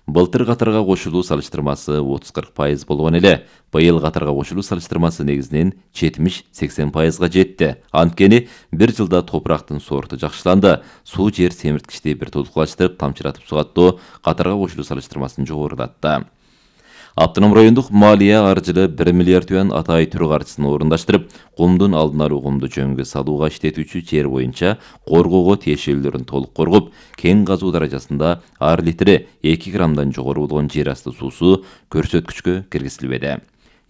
Былтыр катарга кошулуу салыштырмасы 30-40% болгон эле, быйыл катарга кошулуу салыштырмасы негизинен 70-80%га жетти. Анткени бир жылда топурактын сорту жакшыланды. Суу жер семирткичти бир толукташтырып, тамчыратып сугаттоо катарга кошулуу салыштырмасын жогорулатты. Автоном райондук малия аржылы 1 миллиард юан атайын түрү каржысын орундаштырып, кумдун алдын алуу, кумду жөнгө салууга иштетүүчү жер боюнча коргоого тиешелүүлөрүн толук коргоп, кен казуу даражасында ар литри 2 граммдан жогору болгон жер асты суусу көрсөткүчкө киргизилбеди.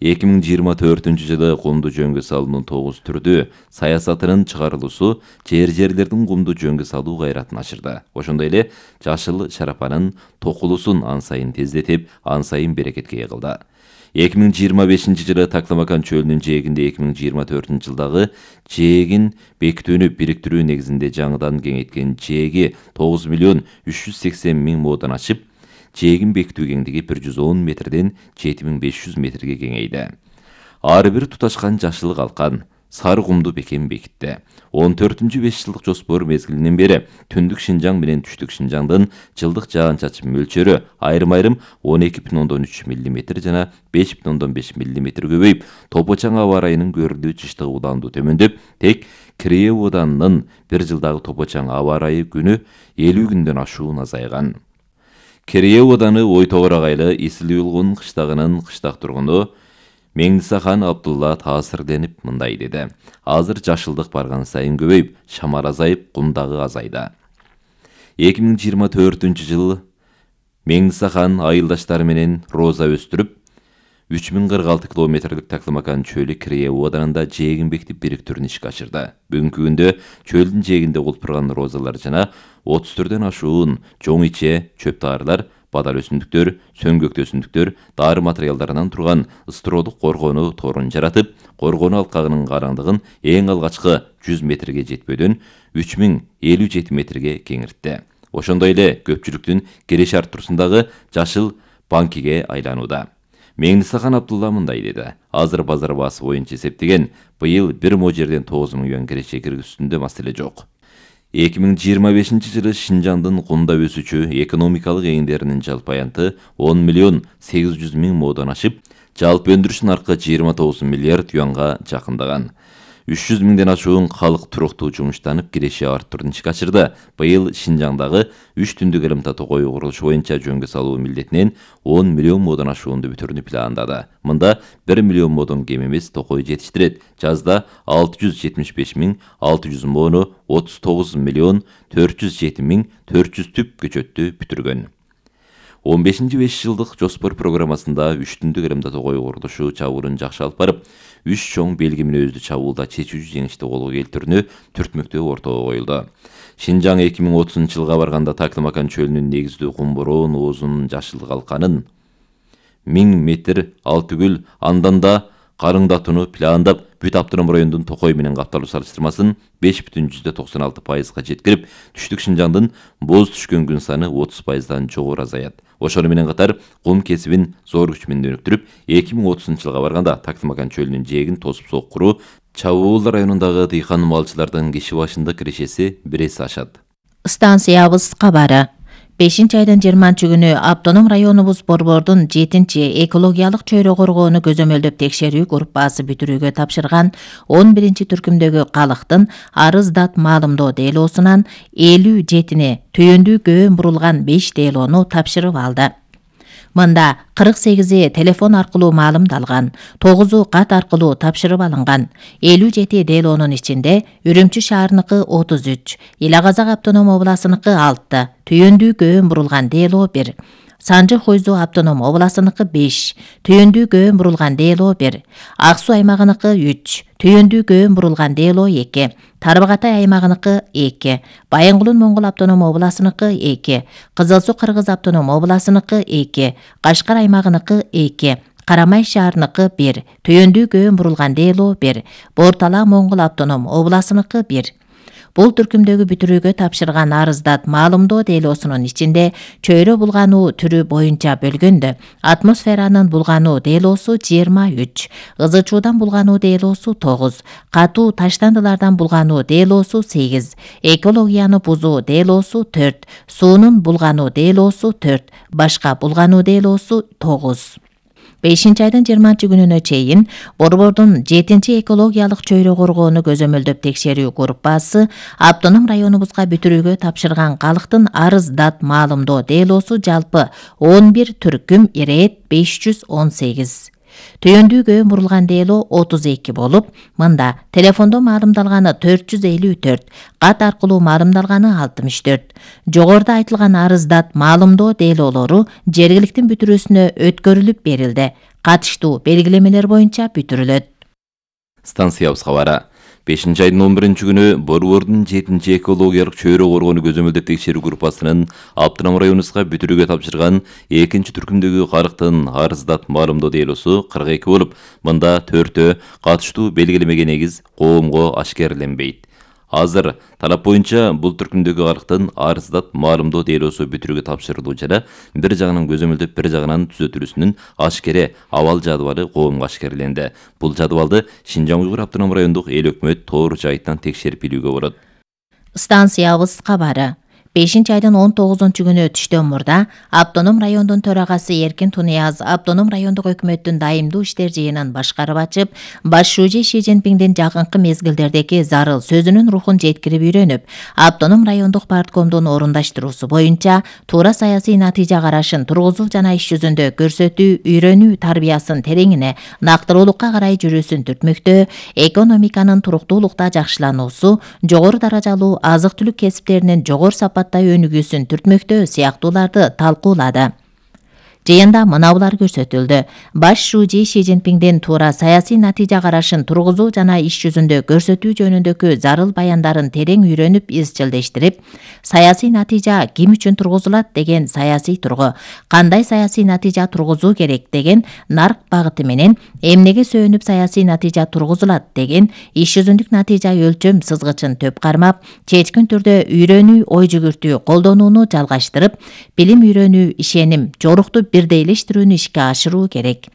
2024-жылы кумду жөнгө салуунун 9 түрдүү саясатынын чыгарылуусу жерлердин кумду жөнгө салуу кайратын ашырды. Ошондой эле жашыл шарапанын токулуусун ан сайын тездетип, ан сайын берекетке ээ кылды. 2025-жылы Такламакан чөлүнүн жээгинде 2024-жылдагы жээгин бекитүүнү бириктирүү негизинде жаңыдан кеңейткен жээги 9 миллион 380 миң модон ашып, жээгин бекитүү кеңдиги 110 метрден 7500 метрге кеңейди. Ар бир туташкан жашыл калкан, сары кумду бекем бекитти. 14-5 жылдык жоспор мезгилинен бери түндүк Шинжаң менен түштүк Шинжаңдын жылдык жаан-чачын мөлчөрү айрым-айрым 12,3 мм жана 5,5 мм көбөйүп, Топочаң аба ырайынын көрүлүү жыштыгы уланду төмөндөп, тек Кирее Оданынын бир жылдагы Топочаң аба ырайы күнү 50 күндөн ашуун азайган. Кирее Оданы Ойтогор агайлы Исилүүлгун кыштагынын кыштак тургуну Меңдисахан Абдулла таасирденип мындай деди. Азыр жашылдык барган сайын көбөйүп, шамар азайып, кумдагы азайды. 2024-жылы Меңдисахан айылдаштары менен роза өстүрүп, 3046 километрлик Такламакан чөлү Кирее Оданында жээгин бекитип бириктүүрүн ишке ашырды. Бүгүнкү күндө чөлдүн жээгинде колпурган розалар жана 30 түрдөн ашуун жоң иче, чөп таарылар, бадал өсүмдүктөр, сөңгөктө өсүмдүктөр, дары материалдарынан турган ыстыродук коргонуу торун жаратып, коргонуу алкагынын караңдыгын эң алгачкы 100 метрге жетпөдөн 3057 метрге кеңиртти. Ошондой эле көпчүлүктүн кереш арттуусундагы жашыл банкиге айланууда. Меңдисахан Абдулла мындай деди. Азыр базар баасы боюнча эсептеген, быйыл бир мо жерден 9 миң юан киреше киргизүүсүндө маселе жок. 2025-жылы Шинжаңдын кумда өсүүчү экономикалык эгиндеринин жалпы аянты 10 миллион 800 миң модон ашып, жалпы өндүрүш наркы 29 миллиард юанга жакындаган. 300 миңден ашуун калк туруктуу жумуштанып, киреше арттырууну ишке ашырды. Быйыл Шинжаңдагы 3 түндүк элемтат токой курулушу боюнча жөнгө салуу милдетинен 10 миллион модон ашуунду бүтүрүүнү пландады. Мында 1 миллион модон кем эмес токой жетиштирет. Жазда 675 миң 600 мону 39 миллион 407 миң 400 түп көчөттү бүтүргөн. 15-5 жылдык жоспор программасында 3 түндүк элемтат токой курулушу чабуурун жакшы алып барып, 3 чоң белги мүнөздүү чабуулда чечүүчү жеңишти колго келтирүүнү түртмөктөө ортого коюлду. Шинжаң 2030-жылга барганда Такламакан чөлүнүн негиздүү кумбуроон оозунун жашыл калканын 1000 метр Алтыгүл анданда карыңдатууну пландап, бүт автоном райондун токой менен капталуу салыштырмасын 5,96%га жеткирип, түштүк Шинжаңдын боз түшкөн күн саны 30%дан жогору азаят. Ошону менен катар кум кесибин зор күч менен өнүктүрүп, 2030-жылга барганда Такламакан чөлүнүн жээгин тосуп соккуруу Чабуул районундагы дыйкан малчылардын киши башында кирешеси 1 эсе ашат. Станциябыз кабары. 5-айдын 20-күнү Автоном районубуз борбордун 7-экологиялык чөйрө коргоону көзөмөлдөп текшерүү группасы бүтүрүүгө тапшырган 11-түркүмдөгү калктын арыз дат маалымдоо делоосунан 57-не түйүндүү көөн бурулган 5 делоону тапшырып алды. Мында 48 телефон аркылуу маалымдалган, 9 кат аркылуу тапшырып алынган. 57 делоонун ичинде Үрүмчү шаарыныкы 33, Ил Казак автоном областыныкы 6, түйүндүү көөн бурулган делоо 1, Санжы Хойзу автоном областыныкы 5, түйүндүү көөн бурулган делоо 1, Ак Суу аймагыныкы 3, түйүндүү көөн бурулган делоо 2, Тарбагатай аймагыныкы 2, Байынгулун Моңгол автоном областыныкы 2, Кызыл Суу Кыргыз автоном областыныкы 2, Кашкар аймагыныкы 2, Карамай шаарыныкы 1, түйүндүү көөн бурулган делоо 1, Бортала Моңгол автоном областыныкы 1. Бул түркүмдөгү бүтүрүүгө тапшырган арыздат маалымдоо делоосунун ичинде чөйрө булгануу түрү боюнча бөлгөндө атмосферанын булгануу делоосу 23, ызычуудан булгануу делоосу 9, катуу таштандылардан булгануу делоосу 8, экологияны бузуу делоосу 4, суунун булгануу делоосу 4, башка булгануу делоосу 9. 5-айдын 20-күнүнө чейин Борбордун 7-чи экологиялык чөйрө коргоону көзөмөлдөп текшерүү группасы автоном районубузга бүтүрүүгө тапшырган калктын арыздат маалымдоо делоосу жалпы 11 түркүм ирет 518. Түйөндүүгө мурулган дело 32 болуп, мында телефондо маалымдалганы 454, кат аркылуу маалымдалганы 64. Жогоруда айтылган арыздат маалымдоо делоолору жергиликтин бүтүрүүсүнө өткөрүлүп берилди. Катыштуу белгилемелер боюнча бүтүрүлөт. Станциябыз кабары. 5-айдын 11-күнү Борбордун 7-чи экологиялык чөйрө коргоону көзөмөлдөп текшерүү группасынын автоном районубузга бүтүрүүгө тапшырган 2-чи түркүмдөгү калктын арыздат маалымдоо делоосу 42 болуп, мында 4-өө катыштуу белгилемеге негиз коомго ашкерленбейт. Азыр талап боюнча бул түркүмдөгү калктын арыздат маалымдоо делоосу бүтүрүүгө тапшырылуу жана бир жагынан көзөмөлдөп, бир жагынан түзөтүлүүсүнүн ашкере абал жадыбалы коомго ашкерленди. Бул жадыбалды Шинжаң Уйгур автоном райондук эл өкмөт тоор жайытынан текшерип билүүгө болот. Станциябыз кабары. 5-айдын 19-күнү түштөн мурда автоном райондун төрагасы Эркин Тунияз автоном райондук өкмөттүн дайымдуу иштер жыйынын башкарып ачып, баш шүүжө Ши Цзиньпиңдин жакынкы мезгилдердеги зарыл сөзүнүн рухун жеткирип үйрөнүп, автоном райондук парткомдун орундаштыруусу боюнча туура саясий натыйжа карашын тургузуу жана иш жүзүндө көрсөтүү, үйрөнүү тарбиясын тереңине, нактылуулукка карай жүрүүсүн түртмөктөө, экономиканын туруктуулукта жакшылануусу, жогору даражалуу азык-түлүк кесиптеринин жогору сапат өнүгүүсүн түртмөктөө сыяктууларды талкуулады. Жыйында мынабулар көрсөтүлдү. Баш шүүжи Ши Цзиньпиңдин туура саясий натыйжа карашын тургузуу жана иш жүзүндө көрсөтүү жөнүндөгү зарыл баяндарын терең үйрөнүп, изчилдештирип, саясий натыйжа ким үчүн тургузулат деген саясий тургу, кандай саясий натыйжа тургузуу керек деген нарк багыты менен, эмнеге сөөнүп саясий натыйжа тургузулат деген иш жүзүндүк натыйжа өлчөм сызгычын төп кармап, чечкин түрдө үйрөнүү, ой жүгүртүү колдонууну жалгаштырып, билим үйрөнүү, ишеним, жорукту бирдейлештирүүнү ишке ашыруу керек.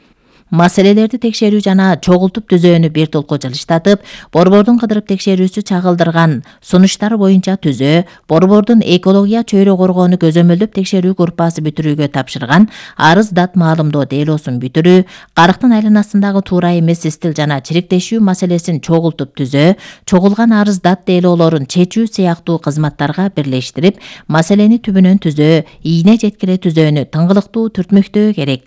Маселелерди текшерүү жана чогултуп түзөөнү бир толку жылыштатып, Борбордун кыдырып текшерүүсү чагылдырган сунуштары боюнча түзөө, Борбордун экология чөйрө коргоону көзөмөлдөп текшерүү группасы бүтүрүүгө тапшырган арыздат маалымдоо делоосун бүтүрүү, карыктын айланасындагы туура эмес истил жана чириктешүү маселесин чогултуп түзөө, чогулган арыздат делоолорун чечүү сыяктуу кызматтарга бирлештирип, маселени түбүнөн түзөө, ийне жеткире түзөөнү тыңгылыктуу түртмөктөө керек.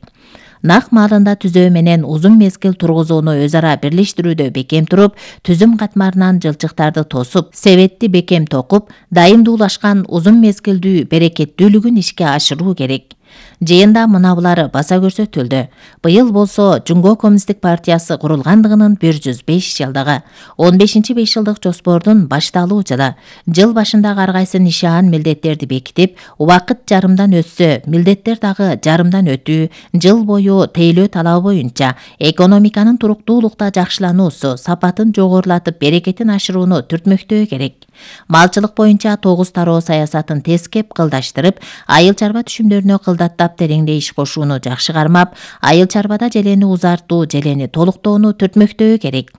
Нак маалында түзөө менен узун мезгил тургузууну өз ара бирлештирүүдө бекем туруп, түзүм катмарынан жылчыктарды тосуп, себетти бекем токуп, дайымдуулашкан узун мезгилдүү берекеттүүлүгүн ишке ашыруу керек. Жыйында мынабулары баса көрсөтүлдү. Быйыл болсо Жумго Коммунисттик партиясы курулгандыгынын 105 жылдыгы, 15-5 жылдык жоспордун башталуу жылы. Жыл башындагы ар кайсы нишан милдеттерди бекитип, убакыт жарымдан өтсө, милдеттер дагы жарымдан өтүү, жыл бою тейлөө талабы боюнча экономиканын туруктуулукта жакшылануусу, сапатын жогорулатып, берекетин ашырууну түртмөктөө керек. Малчылык боюнча 9 тароо саясатын тескеп кылдаштырып, айыл чарба түшүмдөрүнө кылдаттап тереңдей иш кошууну жакшы кармап, айыл чарбада желени узартуу, желени толуктоону түртмөктөө керек.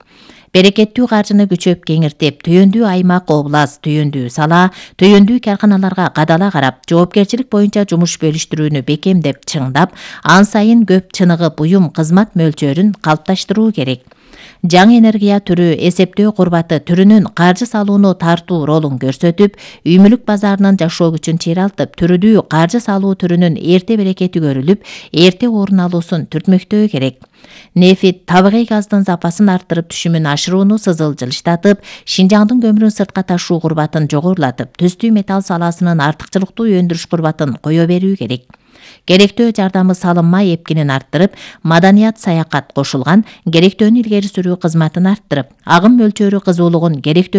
Берекеттүү каржыны күчөп кеңиртип, түйөндүү аймак, област, түйөндүү сала, түйөндүү карканаларга кадала карап, жоопкерчилик боюнча жумуш бөлүштүрүүнү бекемдеп, чыңдап, ан сайын көп чыныгып, уюм кызмат мөлчөрүн калыпташтыруу керек. Жаңы энергия түрү, эсептөө курбаты түрүнүн каржы салууну тартуу ролун көрсөтүп, үй мүлүк базарынын жашоо күчүн чыйралтып, түрүдүү каржы салуу түрүнүн эрте берекети көрүлүп, эрте орун алуусун түртмөктөө керек. Нефит, табигый газдын запасын арттырып, түшүмүн ашырууну сызыл жылыштатып, Шинжаңдын көмүрүн сыртка ташуу курбатын жогорулатып, түстүү металл саласынын артыкчылыктуу өндүрүш курбатын кое берүү керек. Керектөө жардамы салынма эпкинин арттырып, маданият саякат кошулган, керектөөнү илгери сүрүү кызматын арттырып, агым мөлчөрү кызуулугун керектөө